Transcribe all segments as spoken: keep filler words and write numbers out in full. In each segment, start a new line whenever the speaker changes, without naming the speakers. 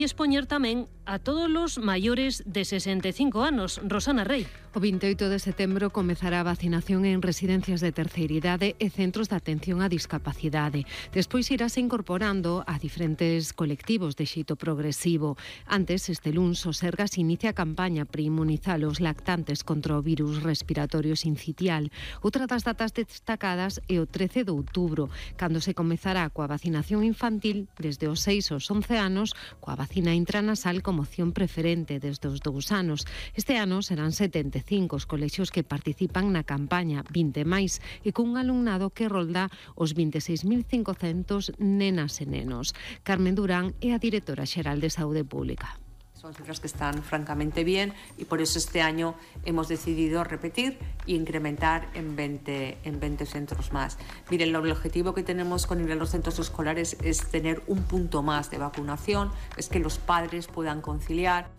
E expoñer tamén a todos os maiores de sesenta e cinco anos. Rosana Rey.
O vinte e oito de setembro comezará a vacinación en residencias de terceira idade e centros de atención á discapacidade. Despois irase incorporando a diferentes colectivos de xeito progresivo. Antes, este luns, o Sergas inicia a campaña para inmunizar os lactantes contra o virus respiratorio sincitial. Outra das datas destacadas é o trece de outubro, cando se comezará coa vacinación infantil desde os seis aos once anos, coa vacina intranasal como opción preferente desde os dous anos. Este ano serán setenta e cinco os colexios que participan na campaña, vinte máis, e cun alumnado que rolda os vinte e seis mil cincocentos nenas e nenos. Carmen Durán é a directora xeral de Saúde Pública.
Son cifras que están francamente bien y por eso este año hemos decidido repetir e incrementar en veinte, en veinte centros más. Miren, el objetivo que tenemos con los centros escolares es tener un punto más de vacunación, es que los padres puedan conciliar.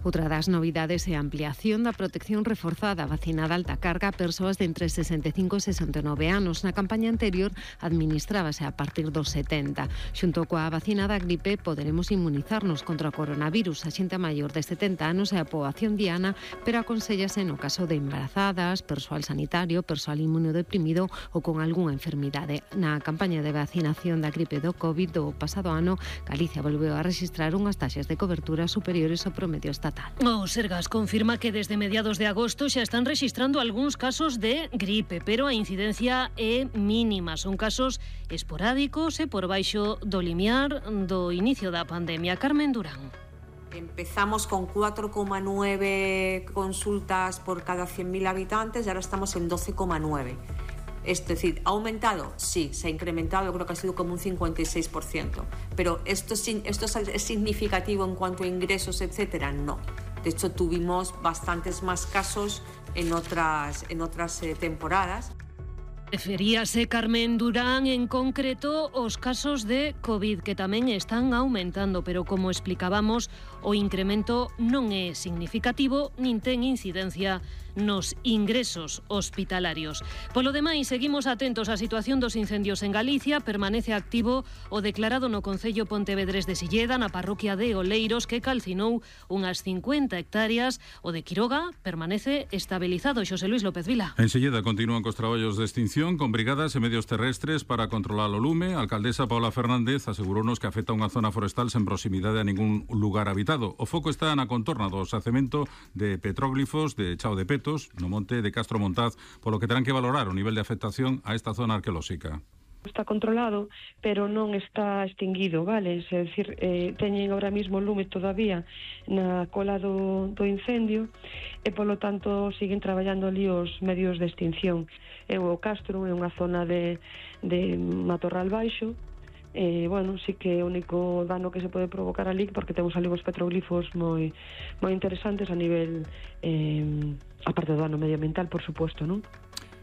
Outra das novidades é a ampliación da protección reforzada vacinada alta carga a persoas de entre sesenta e cinco e sesenta e nove anos. Na campaña anterior administrábase a partir dos setenta. Xunto coa vacina da gripe poderemos inmunizarnos contra o coronavirus a xente maior de setenta anos e a poboación diana, pero aconsellase no caso de embarazadas, persoal sanitario, persoal inmunodeprimido ou con algunha enfermidade. Na campaña de vacinación da gripe do COVID do pasado ano, Galicia volveu a registrar unhas taxas de cobertura superiores ao promedio estatal.
O Sergas confirma que desde mediados de agosto xa están registrando algúns casos de gripe, pero a incidencia é mínima. Son casos esporádicos e por baixo do limiar do inicio da pandemia. Carmen Durán.
Empezamos con cuatro coma nueve consultas por cada cien mil habitantes y ahora estamos en doce coma nueve. Es decir, ¿ha aumentado? Sí, se ha incrementado, creo que ha sido como un cincuenta y seis por ciento. Pero ¿esto, esto es significativo en cuanto a ingresos, etcétera? No. De hecho, tuvimos bastantes más casos en otras, en otras eh, temporadas.
Referíase Carmen Durán en concreto os casos de COVID que tamén están aumentando, pero como explicábamos, o incremento non é significativo nin ten incidencia nos ingresos hospitalarios. Polo demais, seguimos atentos á situación dos incendios en Galicia. Permanece activo o declarado no concello pontevedrés de Silleda, na parroquia de Oleiros, que calcinou unhas cincuenta hectáreas. O de Quiroga permanece estabilizado. Xosé Luis López Vila.
En Silleda continúan cos traballos de extinción con brigadas e medios terrestres para controlar o lume. A alcaldesa Paula Fernández asegurounos que afecta unha zona forestal sen proximidade a ningún lugar habitado. O foco está na contorna do xacemento de petróglifos de Chao de Peto, no monte de Castro Montaz, polo que terán que valorar o nivel de afectación a esta zona arqueolóxica.
Está controlado, pero non está extinguido, vale? É dicir, eh, teñen ahora mismo lume todavía na cola do, do incendio e, polo tanto, siguen traballando ali os medios de extinción. É o Castro, é unha zona de, de matorral baixo, e, bueno, sí que é o único dano que se pode provocar ali, porque temos ali os petroglifos moi, moi interesantes a nivel, eh, aparte do dano medioambiental, por suposto, non?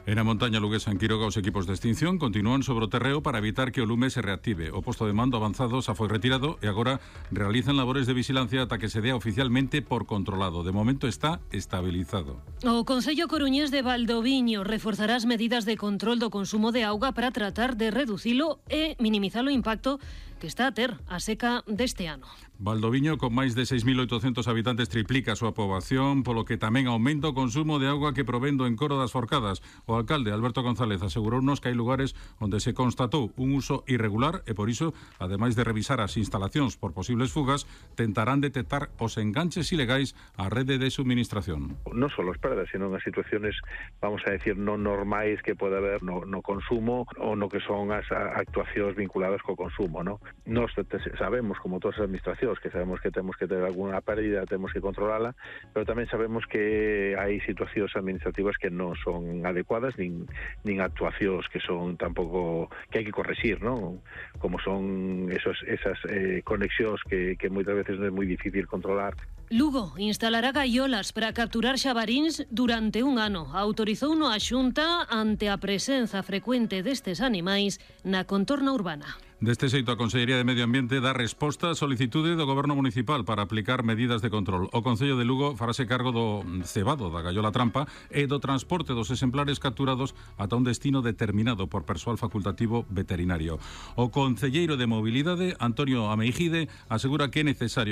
En a montaña luguesa en Quiroga, os equipos de extinción continúan sobre o terreo para evitar que o lume se reactive. O posto de mando avanzado xa foi retirado e agora realizan labores de vigilancia ata que se dea oficialmente por controlado. De momento está estabilizado.
O Concello Coruñés de Valdoviño reforzará as medidas de control do consumo de auga para tratar de reducilo e minimizar o impacto que está a ter a seca deste ano.
Valdoviño, con máis de seis mil oitocentos habitantes, triplica a súa poboación, polo que tamén aumenta o consumo de auga que provén do encoro das Forcadas. O alcalde Alberto González asegurounos que hai lugares onde se constatou un uso irregular e por iso, ademais de revisar as instalacións por posibles fugas, tentarán detectar os enganches ilegais á rede de suministración.
Non só as perdas, sino as situaciones, vamos a decir, non normais que pode haber no, no consumo ou no que son as actuacións vinculadas co consumo, non? Nós sabemos, como todas as administracións, que sabemos que temos que ter alguna pérdida, temos que controlala, pero tamén sabemos que hai situacións administrativas que non son adecuadas, nin, nin actuacións que son tampouco, que hai que correxir, non? Como son esos, esas eh, conexións que, que moitas veces non é moi difícil controlar.
Lugo instalará gaiolas para capturar xabaríns durante un ano. Autorizouno a Xunta ante a presenza frecuente destes animais na contorna urbana.
Deste xeito, a Consellería de Medio Ambiente dá resposta á solicitude do Goberno Municipal para aplicar medidas de control. O Concello de Lugo farase cargo do cebado da gallola trampa e do transporte dos exemplares capturados ata un destino determinado por persoal facultativo veterinario. O concelleiro de Mobilidade, Antonio Ameijide, asegura que é necesario